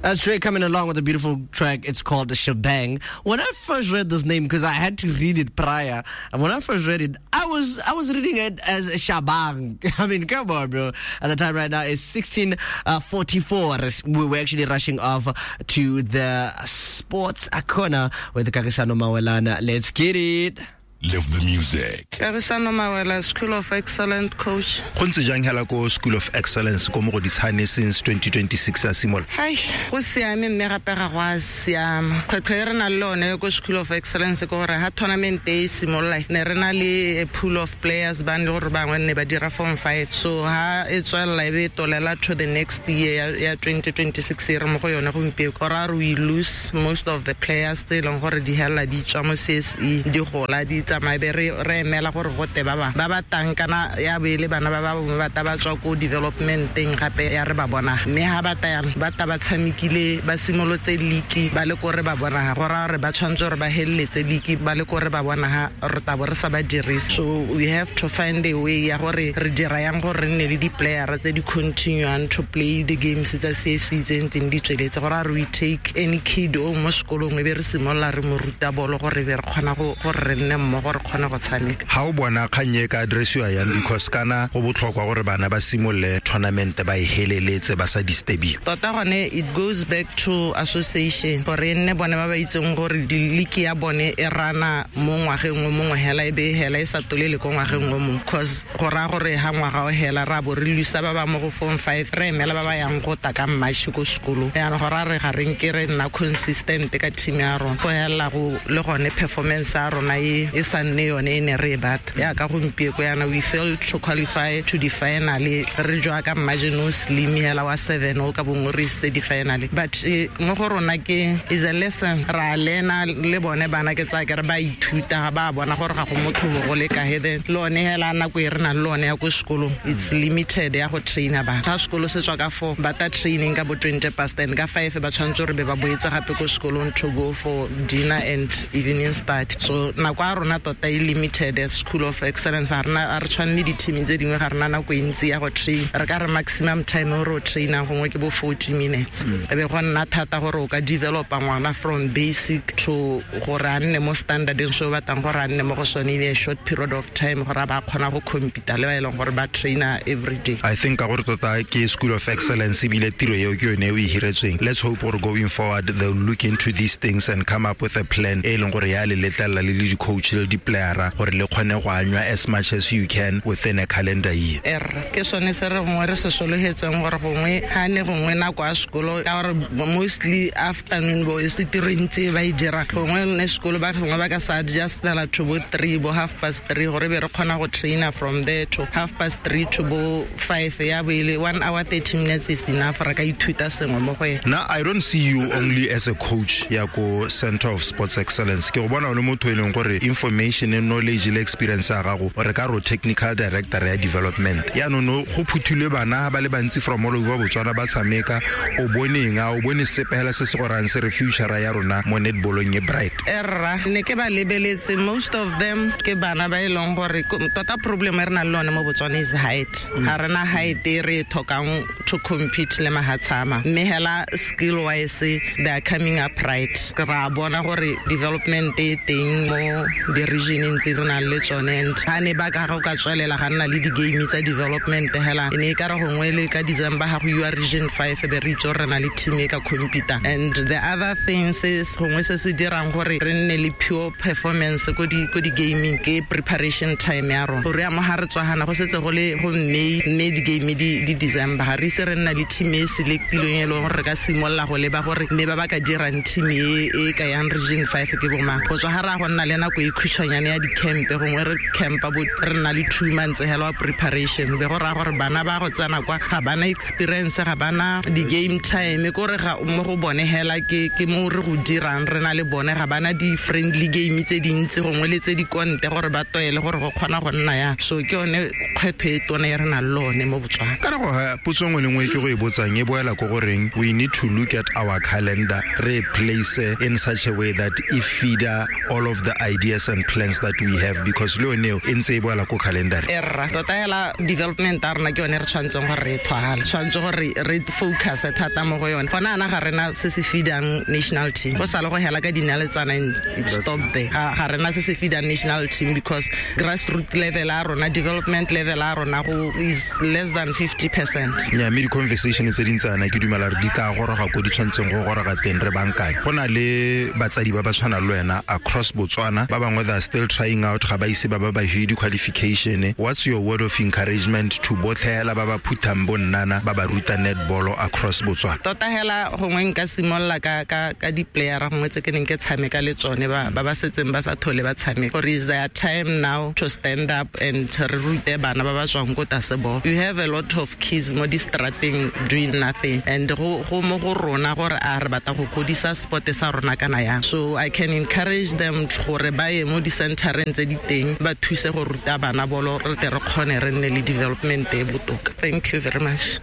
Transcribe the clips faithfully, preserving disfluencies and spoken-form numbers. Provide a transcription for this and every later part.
That's Trey coming along with a beautiful track. It's called The Shebang. When I first read this name, because I had to read it prior, and when I first read it, I was I was reading it as Shabang. I mean, come on, bro. At the time right now, it's sixteen forty-four. We were actually rushing off to the sports corner with Kagisano Mawelana. Let's get it. Live the music. Kagisano Mawela, School of Excellence coach. Go ntse jang hela ko School of Excellence ko Mogoditshane since twenty twenty-six a simolola? Hai, go siame mme gape ga go a siama. Kgwetlho e re nang le yone ko School of Excellence ke gore ha tournament e simolola ne re na le a pool of players ba ne le gore bangwe ne ba dira form five. So ha e tswelela e be e tolela to the next year ya twenty twenty-six e re mo go yone gompieno. Go raya gore we lose most of the players tse e leng gore di hela di tswa mo C S E, di gola di tsamaya be re re emela gore go te ba ba ba ba tang kana ya be le bana ba ba bongwe ba ta ba tswa ko developmenteng gape ya re ba bona mme ha ba ta yang ba ta ba tshamekile ba simolotse league ba le ko re ba bona ha go ra re ba tshwantse gore ba heleletse league ba le ko re ba bona ha re ta bo re sa ba dirise. So we have to find a way ya gore re dira yang gore re nne le di-player tse di continuang to play the games tsa C S E tse ntseng di tsweletse gore re we take any kid o mo sekolong e be re simolola re mo ruta bolo gore be re kgona go gore re nne mmogo gore kgone go tshameka. Ha o bona kgang e ka addressiwa yang because kana go botlhokwa gore bana ba simolole tournament ba e heleletse ba sa disturbiwe. Tota gone it goes back to association gore e nne bone ba ba itseng gore league ya bone e rana mo ngwageng o mongwe hela e be hela e sa tolele ko ngwageng o mongwe, cause go raya gore ha ngwaga o hela ra bo re lusa ba ba mo go form five re emela ba ba yang go ta ka March ko sekolong. Yaanong go raya re ga re nke re nna consistent ka team ya rona go hela go le gone performance ya rona e e sa nne yone e ne re e batla. Yaka gompieko yana we failed to qualify to the final re jwa ka margin o slim hela wa seven o ka bongwe re isitse di-final, but mo go rona ke is a lesson ra lena le bone bana ke tsaya ke re ba ithuta ga ba bona gore ga go motho go le kae then le one hela nako e re nang le one ya ko sekolong it's limited ya go traina ba ga sekolo se tswa ka four ba ta training ka bo twenty past and ka five ba tshwanetse gore be ba boetse gape ko sekolong to go for dinner and evening start. So nako ya rona tota e limited as School of Excellence ga rena a re tshwane le di-team tse dingwe ga rena nako e ntsi ya go train re ka re maximum time o re o trainang gongwe ke bo forty minutes e be go nna thata gore o ka developa ngwana from basic to gore a nne mo standardeng se o batlang gore a nne mo go sone in a short period of time gore a ba kgona go compete le ba e leng gore ba trainer every day. I think ka gore tota ke School of Excellence ebile tiro eo ke yone e o e hiretsweng. Let's hope gore going forward they'll look into these things and come up with a plan e leng gore ya le letlelela le le di-coach le di-playera gore le kgone go anywa as much as you can within a calendar year. Er ke sone se re gongwe re se sologetseng gore gongwe ga ne gongwe nako ya sekolo ka gore mostly afternoon bo e se tiro e ntse ba e dira gongwe ne sekolo ba gongwe ba ka sa adjustela to bo three bo half past three gore be re kgona go trainer from there to half past three to bo five ya bo ile one hour thirty minutes is enough re ka ithuta sengwe mo go ena. Now I don't see you only as a coach ya ko Center of Sports Excellence. Ke go bona o le motho e leng gore information and knowledge le experience ya gago re ka ro technical director ya development. Yaanong no go phuthilwe bana ba le bantsi from all over Botswana ba tshameka o boneng a o bone sepe hela se se gorang se re future ya rona mo netballong e bright. Erra ne ke ba lebeletse most of them ke bana ba e leng gore tota problem e re nang le yone mo Botswana is height. Ga rena height e re e tlhokang to compete le mahatshama mme hela skill wise they are coming up right. Ra bona gore development e teng mo di-regioneng tse re nang le tsone and ga ne ba ka go ka tswelela ga nna le di-game tsa development hela e ne e ka re gongwe le ka December ga go iwa region five be re itse gore re na le team e ka compete. And the other thing se gongwe se se dirang gore re nne le pure performance ko di ko di-gaming ke preparation time ya rona gore ya mo ga re tswagana go setse go le go May mme di-game di di December ga re ise re nna le team e selectilweng e leng gore re ka simolola go leba gore mme ba ba ka dirang team e e ka yang region five ke bomang go tswa ga ra go nna le nako e khutshwanyane ya di-camp gongwe re campa bo re nna le two months hela wa preparation be go raya gore bana ba go tsena kwa ga bana experience ga bana di-game time kore ga mo go bone hela ke ke mo re go dirang re na le bone ga bana di-friendly game tse dintsi gongwe le tse di konte gore ba toele gore go kgona go nna ya so ke yone kgwetho e tona e re nang le one mo Botswana. Kana go potso nngwe le nngwe ke go e botsang e boela ko goreng we need to look at our calendar re place in such a way that e feeder all of the ideas and plans that we have, because le yone e ntse e boela ko calendar. Erra tota hela development a rona ke yone re tshwanetseng gore re thwagale, tshwanetse gore re focus thata mo go yone. Gona ana ga rena se se feedang national team, go sale go hela ka dinaletsana it stop there. Ga rena se se feedang national team because grassroots level a rona, development level a rona go is less than fifty percent. Nya mme di-conversation tse dintsana ke dumela re di tla goroga ko di tshwanetseng go goroga teng re bankanye. Go na le batsadi ba ba tshwanang le wena across Botswana, ba bangwe they are still trying out, ga ba ise ba ba ba hwe di-qualification. What's your word of encouragement to botlhe hela ba ba phuthang bo nnana ba ba ruta netball across Botswana? Tota hela gongwe nka simolola ka ka ka di-player gongwe tse ke neng ke tshameka le tsone ba ba ba setseng ba sa thole ba tshameka, gore is their time now to stand up and re rute bana ba ba tswang ko tlase ball. You have a lot of kids mo di-strateng doing nothing, and go go mo go rona gore a re batla go godisa sport sa rona kana yang. So I can encourage them gore ba ye mo di-centereng tse di teng ba thuse go ruta bana bolo, re tle re kgone re nne le development e botoka. Thank you very much.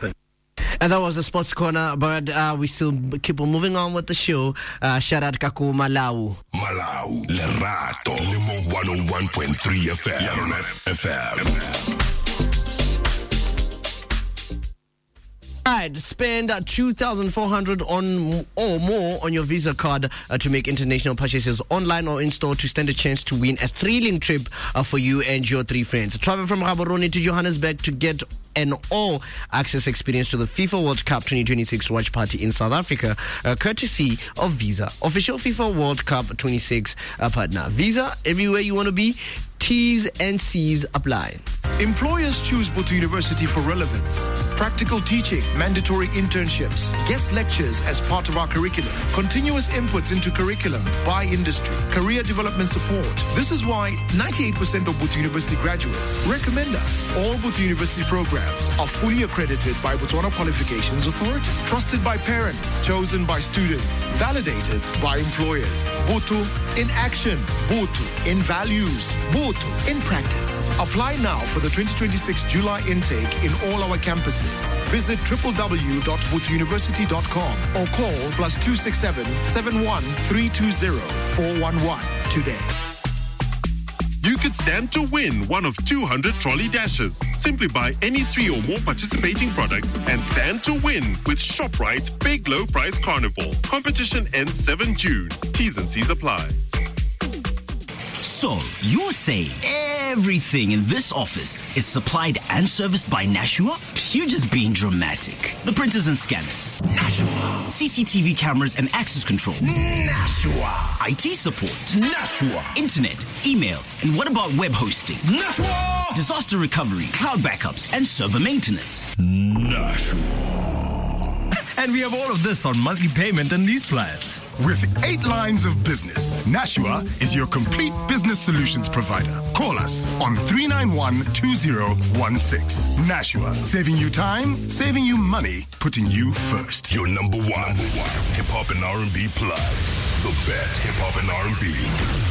And that was the Sports Corner, but uh, we still keep on moving on with the show. Uh, shout out Kaku Malau. Malau, Lerato, Limo one oh one point three F M. F M. Right, spend two thousand four hundred on or more on your Visa card uh, to make international purchases online or in store to stand a chance to win a thrilling trip uh, for you and your three friends. Travel from Gaborone to Johannesburg to get an all-access experience to the FIFA World Cup twenty twenty-six watch party in South Africa, uh, courtesy of Visa, official FIFA World Cup twenty-six uh, partner. Visa, everywhere you want to be. T's and C's apply. Employers choose Botho University for relevance, practical teaching, mandatory internships, guest lectures as part of our curriculum, continuous inputs into curriculum by industry, career development support. This is why ninety-eight percent of Botho University graduates recommend us. All Botho University programs are fully accredited by Botswana Qualifications Authority, trusted by parents, chosen by students, validated by employers. Botho in action, Botho in values, Botho in practice. Apply now for the twenty twenty-six July intake in all our campuses. Visit w w w dot botho university dot com or call plus two six seven, seven one three two zero, four one one today. You could stand to win one of two hundred trolley dashes. Simply buy any three or more participating products and stand to win with ShopRite's Big Low Price Carnival. Competition ends seventh of June. T's and C's apply. So, you're saying everything in this office is supplied and serviced by Nashua? You're just being dramatic. The printers and scanners. Nashua. C C T V cameras and access control. Nashua. I T support. Nashua. Internet, email, and what about web hosting? Nashua. Disaster recovery, cloud backups, and server maintenance. Nashua. And we have all of this on monthly payment and lease plans. With eight lines of business, Nashua is your complete business solutions provider. Call us on three nine one, two zero one six. Nashua, saving you time, saving you money, putting you first. Your number one, number one hip-hop and R and B plug. The best hip-hop and R and B.